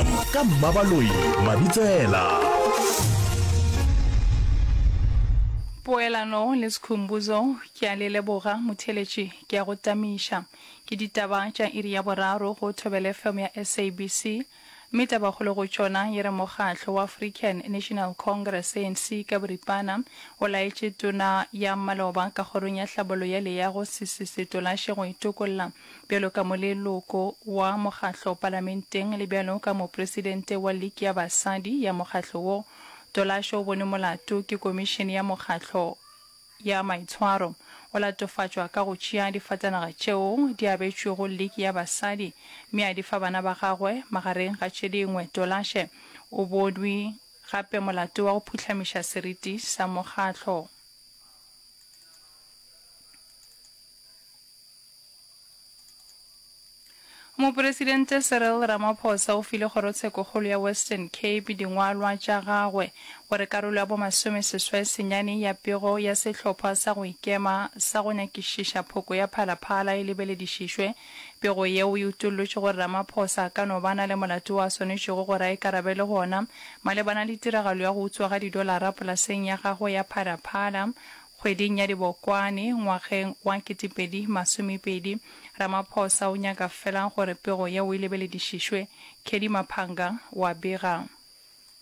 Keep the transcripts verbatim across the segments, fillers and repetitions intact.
F M ka Mmabaloi Mabitsela. Poelano le Skhumbuzo, ke a le leboga motheeletši, ke a go tamiša. Ke ditaba tša iri ya boraro go Thobela F M ya S A B C, mme tabakgolo go tšona e re mokgatlo wa African National Congress, A N C ka boripana, o laetše tona ya maloba ka kgorong ya hlabollo ya leago Sisi Setolashe go itokolla bjalo ka moleloko wa mokgatlo palamenteng le bjalo ka mopresidente wa liki ya basadi ya mokgatlo wo. Tolashe o bone molato ke komišene ya mokgatlo ya maitshwaro. O latofatšwa ka go tšea difatanaga tšeo di abetšwego liki ya basadi mme a di fa bana ba gagwe magareng ga tše dingwe. Tolashe o bonwe gape molato wa go phuhlamiša seriti sa mokgatlo. Mopresidente Cyril Ramaphosa o file Kgorotshekokgolo ya Western Cape dingwalwa tša gagwe gore karolo ya bomasomeseswai senyane ya pego ya sehlopha sa go ikema sa go nyakišiša phoko ya Phala Phala e lebeledišišwe. Pego yeo e utollotše gore Ramaphosa a ka no ba na le molato wo a swanetšego gore a ikarabele go ona malebana le tiragalo ya go utswa ga didolara polaseng ya gagwe ya Phala Phala kgweding ya Dibokwane ngwageng wa ketepedi masomepedi. Ramaphosa o nyaka fela gore pego yeo e lebeledišišwe. Kelly Maphanga o a bega.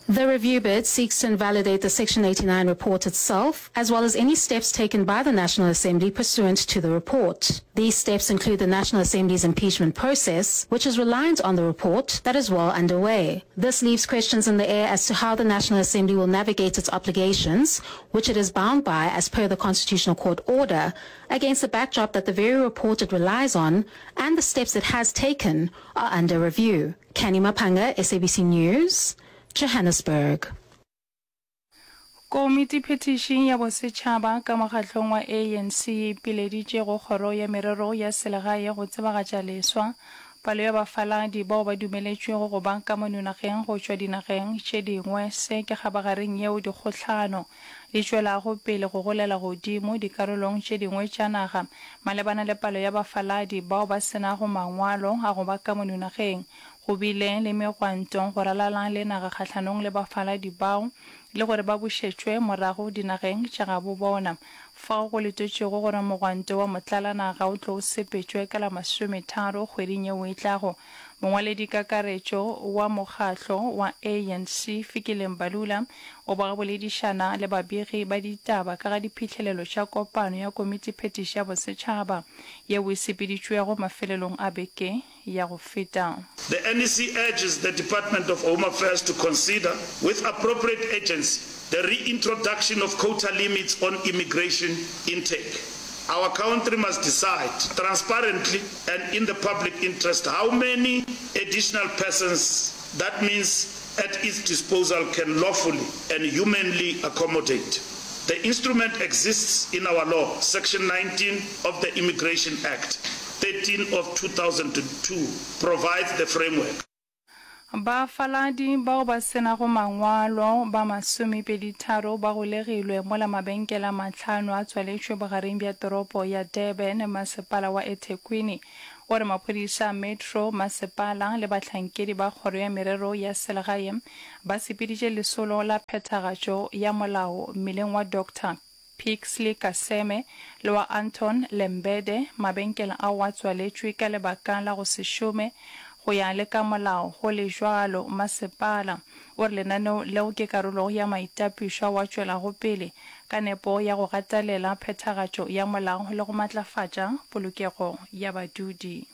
The review bid seeks to invalidate the Section eighty-nine report itself, as well as any steps taken by the National Assembly pursuant to the report. These steps include the National Assembly's impeachment process, which is reliant on the report that is well underway. This leaves questions in the air as to how the National Assembly will navigate its obligations, which it is bound by as per the Constitutional Court order, against the backdrop that the very report it relies on and the steps it has taken are under review. Canny Mapanga, S A B C News, Johannesburg. Komitiphethiši ya Bosetšhaba ka mokgatlong wa A N C e ipileditše go Kgoro ya Merero ya Selegae go tsebagatša leswa palo ya bafaladi bao ba dumeletšwego go ba ka mono nageng go tšwa dinageng tše dingwe. Se ke kgabagareng yeo dikgohlano di tšwelago pele go golela godimo dikarolong tše dingwe tša naga malebana le palo ya bafaladi bao ba se nago mangwalo a go ba ka mono nageng. Go bile le megwanto go ralala le naga kgahlanong le bafaladi bao le gore ba bušetšwe morago dinageng tša gabo bona, fao go letetšwego gore mogwanto wa motlalanaga o tlo sepetšwe ka la masometharo kgweding yeo e tlago. Mongwaledikakaretšo wa mokgatlo wa A N C Fikile Mbalula o ba boledišana le babegi ba ditaba ka ga diphihlelelo tša kopano ya komitiphethiši ya bosetšhaba yeo e sepeditšwego mafelelong a beke ya go feta. The N E C urges the Department of Home Affairs to consider, with appropriate agency, the reintroduction of quota limits on immigration intake. Our country must decide transparently and in the public interest how many additional persons that means at its disposal can lawfully and humanly accommodate. The instrument exists in our law, Section nineteen of the Immigration Act, thirteen of two thousand two provides the framework. Bafaladi bao ba se nago mangwalo ba masomepeditharo ba golegilwe mola mabenkele a mahlano a tswaletšwe bogareng bja toropo ya Durban. Masepala wa eThekwini o re maphodisa a Metro Masepala le bahlankedi ba Kgoro ya Merero ya Selegae ba sepeditše lesolo la phethagatšo ya molao mmileng wa Doctor Pixley Kaseme le wa Anton Lembede. Mabenkele ao a tswaletšwe ka lebaka la go se šome go ya le ka molao. Go le bjalo, masepala o re lenaneo leo ke karolo ya maitapišo ao a tšwelago pele ka nepo ya go gatelela phethagatšo ya molao le go matlafatša polokego ya badudi.